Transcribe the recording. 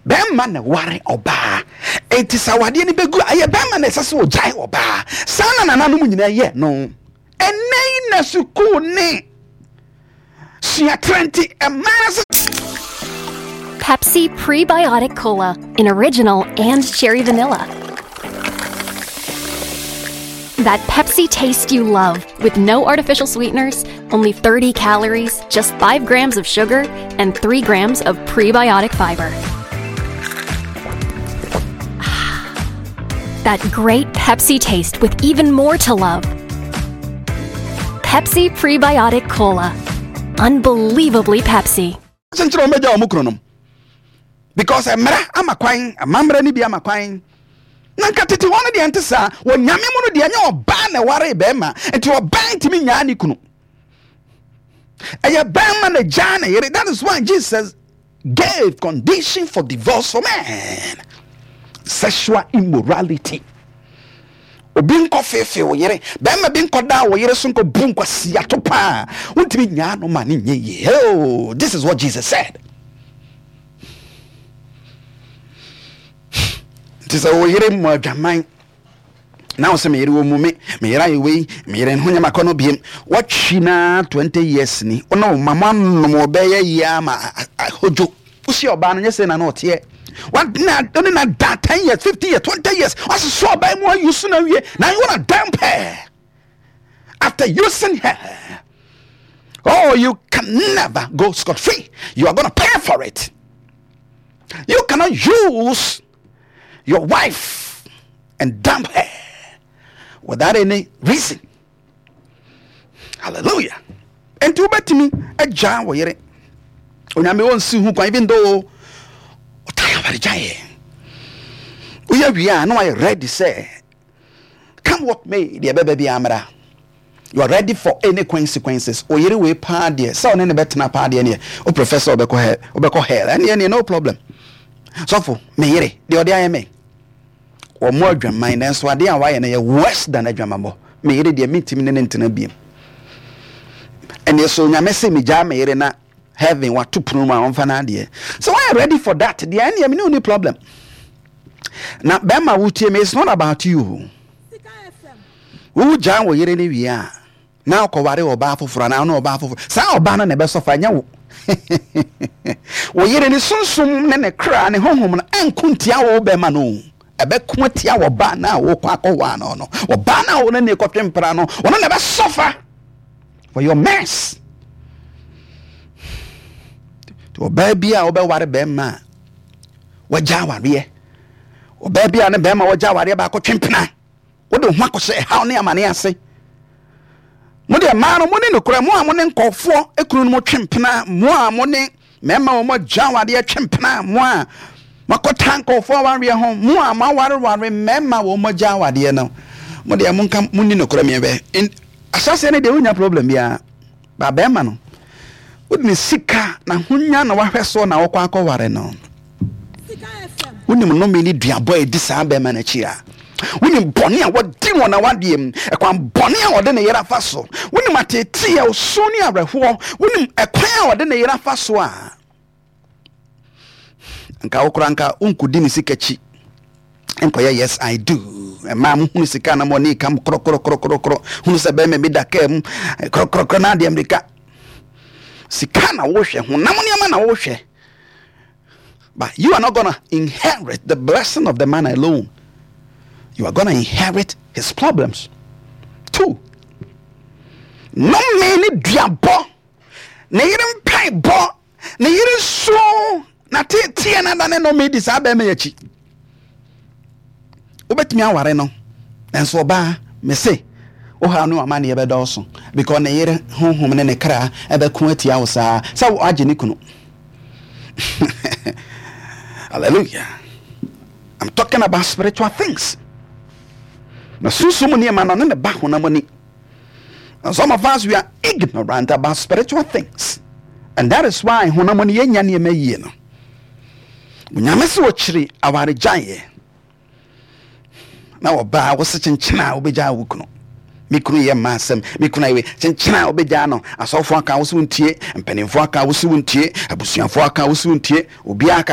Bɛrima na ware ɔbaa. Enti sɛ awadeɛ no bɛgu a, ɛyɛ bɛrima na ɛsɛ sɛ ɔgyae ɔbaa. Saa na nananom nyinaa yɛ no. Ɛnnɛ yi na sukuu ne suatrɛ nti mmaa sɛ. Pepsi Prebiotic Cola in original and cherry vanilla. That Pepsi taste you love with no artificial sweeteners, only 30 calories, just 5 grams of sugar, and 3 grams of prebiotic fiber. That great Pepsi taste with even more to love. Pepsi Prebiotic Cola. Unbelievably Pepsi. Kyenkyere wɔn bɛgya wɔn kununom because mmara ama kwan, amammerɛ no bi ama kwan. Na nka tete hɔ no deɛ nte saa. Wɔ Nyame mu no deɛ ɛnyɛ ɔbaa na ɛwaree bɛrima, nti ɔbaa ntumi nyaa ne kunu. Ɛyɛ bɛrima na gyaa ne yere. That is why Jesus gave condition for divorce for men. Sexual immorality. Obi nkɔ feefee wo yere, bɛrima bi nkɔ daa wo yere so nkɔ bu nkwasiato paa. Wontumi nyaa no ma ne nyɛ yie. Oh, this is what Jesus said. Nti sɛ wo yere mmɔ adwaman na wo sɛ me yere wɔ mu me me yere ayɛ wei me yere ho nyɛ makɔ no biem watwi na 20 years ni wo ne wo ma mo anom ɔbɛyɛ yie ama ahodwo wosi ɔbaa no nyɛ sɛ na na ɔteɛ wane na da 10 years 15 years 20 years wasosɔ ɔbaa mu ayi so na wie na you wanna dump her after using her. Oh, you can never go scot free. You are gonna pay for it. You cannot use your wife and dump her without any reason. Hallelujah. Nti wobɛtumi agyaa wo yere. Onyame ɔnsi ho kwan even though ɔtan awaregyaeɛ. Woyɛ wie a na wayɛ ready sɛ come what may deɛ ɛbɛba biara mmra. You are ready for any consequences. Wo yere wei paa deɛ sɛ ɔne ne bɛtena paa deɛ neɛ wo prefer sɛ ɔbɛkɔ hell wobɛkɔ hell ɛneɛ neɛ no problem. Sɔfo me yere deɛ ɔde ayɛ me wɔmmɔ adwaman nanso adeɛ a wayɛ no yɛ worse than adwamammɔ. Me yere deɛ mentumi ne ne ntena biem. Ɛneɛ so Nyame se megyaa me yere na heaven wato pono mu a ɔmfa n'adeɛ. So wayɛ ready for that deɛ ɛneɛ me ne wo ni problem. Na bɛrima wotie me, it's not about you. Wogyaa wo yere no wie a, na ɔkɔware ɔbaa foforɔ anaa ɔne ɔbaa foforɔ. Saa ɔbaa no na ɛbɛsɔfa, ɛnyɛ wo. Wo yere ne sunsum ne ne kra ne honhom no ɛnko ntia wo bɛrima no. Ɛbɛko atia ɔbaa no a wokɔ akɔwaa no no. Ɔbaa no a wo ne ne kɔtwe mpena no, ɔno na ɛbɛsɔfa for your mess. Ɔbaa bi a wobɛware bɛrima a wagya awareɛ, ɔbaa bi a ne bɛrima wagya awareɛ baako twe mpena, wode wo ho akɔhyɛ ɛhaw ne amane ase. Mo deɛ mmaa no mo ne nokorɛ, mo a mo ne nkɔfoɔ ekunu no mo twe mpena, mo a mo ne mmarima wɔn agya awareɛ twe mpena, mo a moakɔta nkɔfoɔ awareɛ ho, mo a moawareware mmarima wɔn agya awareɛ no, mo deɛ monka mo ni nokorɛ meɛ bɛ ahyɛseɛ no deɛ wonya problem biara. Ba bɛrima no, wode ne sika na ahonya na wahwɛ soɔ na wokɔ akɔware no. Wonim nnome ne duabɔ a ɛdi saa bɛrima no akyi a. Wonim bɔne a wɔdi wɔ n'awadeɛ mu, ɛkwan bɔne a ɔde ne yere afa so. Wonim ateeteeɛ, osu ne awerɛhoɔ. Wonim ɛkwan a ɔde ne yere afa so a. Nka wo koraa nka wonkɔdi ne sika akyi nkɔyɛ yes I do. Mmaa mo hunu sika na mo ani kam korɔkorɔkorɔkorɔ hunu sɛ bɛrima bi da kaa mu korɔkorɔkorɔ na adeɛ mmirika. Sika na wohwɛ, honam nneɛma na wohwɛ. But you are not gonna inherit the blessing of the man alone. You are gonna inherit his problems too. Nnome ne duabɔ, ne yere mpaebɔ, ne yere su, na teeteɛ na da ne nnome di saa bɛrima yi akyi. Wobɛtumi aware no, nanso ɔbaa, mese, wo haw ne w'amanneɛ bɛdɔɔso, because ne yere honhom ne ne kra ɛbɛko atia wo saa sɛ woagye ne kunu. Hallelujah. I'm talking about spiritual things. Na sunsum nneɛma no ne ne ba honam ani. And some of us, we are ignorant about spiritual things. And that is why honam ani yɛnya nneɛma yie no. Onyame sɛ ɔkyiri awaregyaeɛ na ɔbaa wo se kyenkyena a wobɛgyaa wo kunu. Me kunu yɛ mma asɛm, me kunu ayɛ wei, kyenkyena a wobɛgyaa no. Asɔfoɔ aka wo se wontie, mpanimfoɔ aka wo se wontie, abusuafoɔ aka wo se wontie, obiara aka wo.